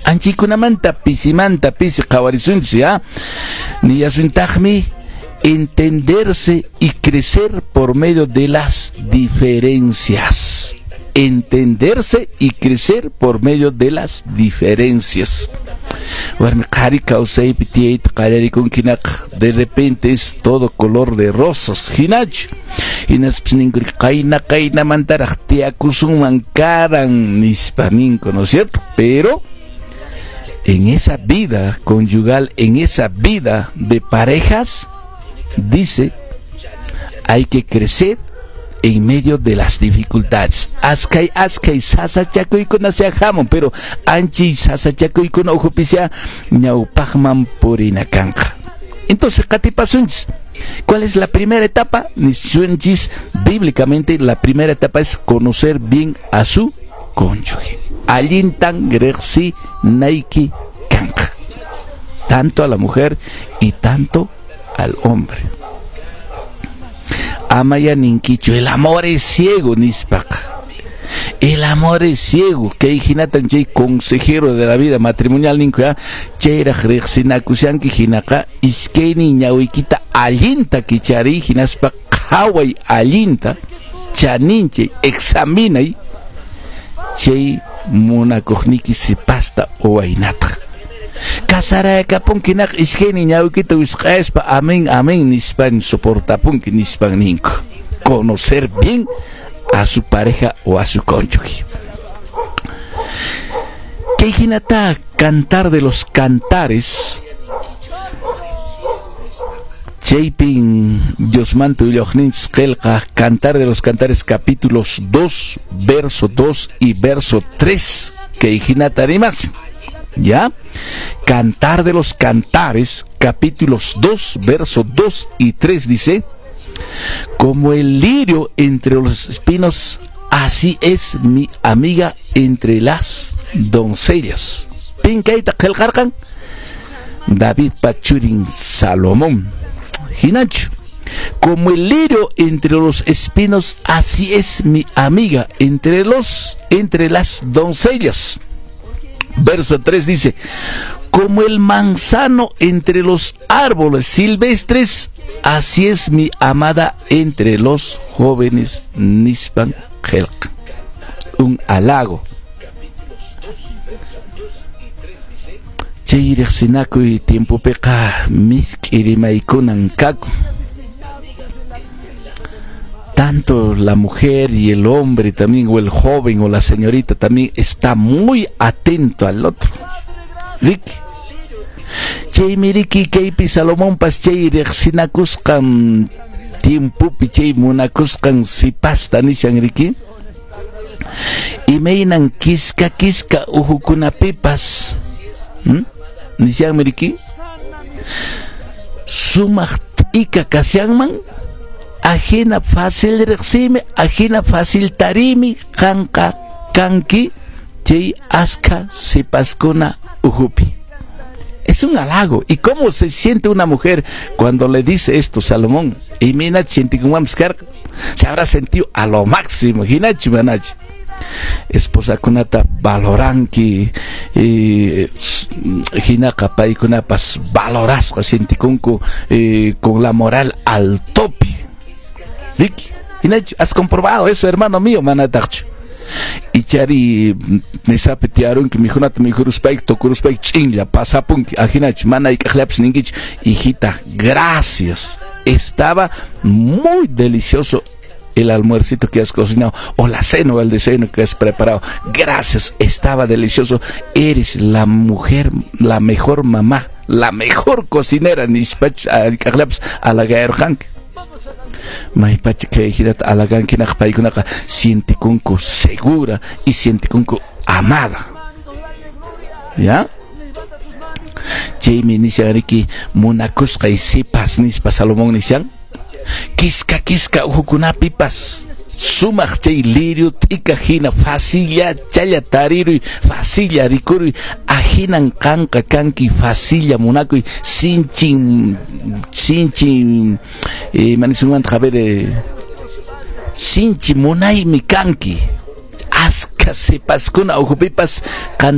Anchikunamanta pisimanta pisi qhawarisunchis, ya. Niyasuntaqmi entenderse y crecer por medio de las diferencias. Entenderse y crecer por medio de las diferencias. Warmi qhari kawsaypi tiyayta qallarikunkinaqa, de repente es todo color de rosas, hinachu. Hinaspis ninku qayna qaynamantaraq tiyakusunman karan nispa ninku, ¿no es cierto? Pero en esa vida conyugal, en esa vida de parejas, dice, hay que crecer en medio de las dificultades. Askay askay sasachakuykuna sea hamun, pero anchi sasachakuykuna ukhupi sea ñawpaqman purina kanqa. Entonces, qatipasunchis. ¿Cuál es la primera etapa? Nisunchis, bíblicamente, la primera etapa es conocer bien a su cónyuge. Allintan riqsinayki kanqa. Tanto a la mujer y tanto al hombre. Amaya ninkichu, el amor es ciego, nispaqa. El amor es ciego. Kay hinatan chay consejero de la vida matrimonial ninku, ya, chayraq riqsinakushanki hinaqa iskaynin ñawiykita allinta kichariy hinaspa qhaway allinta chaninchay examinay chay munakuqniki sipasta o waynata. Casaraykapunki hinaqa iskaynin ñawiykita wisq'aspa amén amén nispan soportapunki nispan ninku. Conocer bien a su pareja o a su cónyuge. Kay hinata Cantar de los Cantares chaypin Diosmanta willawaqninchis qillqa Cantar de los Cantares, capítulos 2, verso 2 y verso 3, kay hinata rimas. ¿Ya? Cantar de los Cantares, capítulos 2, verso 2 y 3 dice: "Como el lirio entre los espinos, así es mi amiga entre las doncellas". Pin kayta qillqarqan? David churin Salomón. Hinachu. Como el lirio entre los espinos, así es mi amiga entre las doncellas. Verso 3 dice: "Como el manzano entre los árboles silvestres, así es mi amada entre los jóvenes", nispan qillqa. Un halago. Chay riqsinakuy tiempopiqa misk'i rimaykunan kakun. Tanto la mujer y el hombre también, o el joven o la señorita también está muy atento al otro. Riki. Chaymi riki kaypi Salomonpas chay riqsinakusqan tiempopi chay munakusqan sipasta nishan riki. Imaynan kiska kiska uhukunapipas, Nishanmi riki. Sumaq t'ika kashanman, ajina fácil riqsimi, ajina fácil tarimi qanqa kanki chay askha sipaskuna ukhupi. Es un halago. ¿Y cómo se siente una mujer cuando le dice esto Salomón? Y mira, siente como se habrá sentido a lo máximo. Hinachu manachu. Esposakunata valoranki hinaqa paykunapas valorasqa sientikunku con la moral al tope. Riki, hinachu, ¿has comprobado eso, hermano mío? Manataqchu. Ichari mesapi tiyarunki mikhunata mikhuruspayki tukuruspayki ch'inlla pasapunki ajinachu mana hayk'aqllapis ninkichu: "Hijita, gracias, estaba muy delicioso el almuercito que has cocinado, o la cena o el desayuno que has preparado. Gracias, estaba delicioso. Eres la mujer, la mejor mamá, la mejor cocinera", nispachu hayk'aqllapis halagayarqanki. Maypacha kay hinata halagankinaq paykunaqa sientikunku segura y sientikunku amada. ¿Ya? Chaymi nishan riki munakusqay sipas nispa Salomón nishan kiska kiska uhukunapipas sumaq chay lirio t'ika hina facilla challa tariruy, facilla rikuruy, ahinan qanqa kanki facilla munakuy, sinchin sinchin manisunmanta, a ver, sinchi munaymi kanki askha sipaskuna ukhupipas qanta.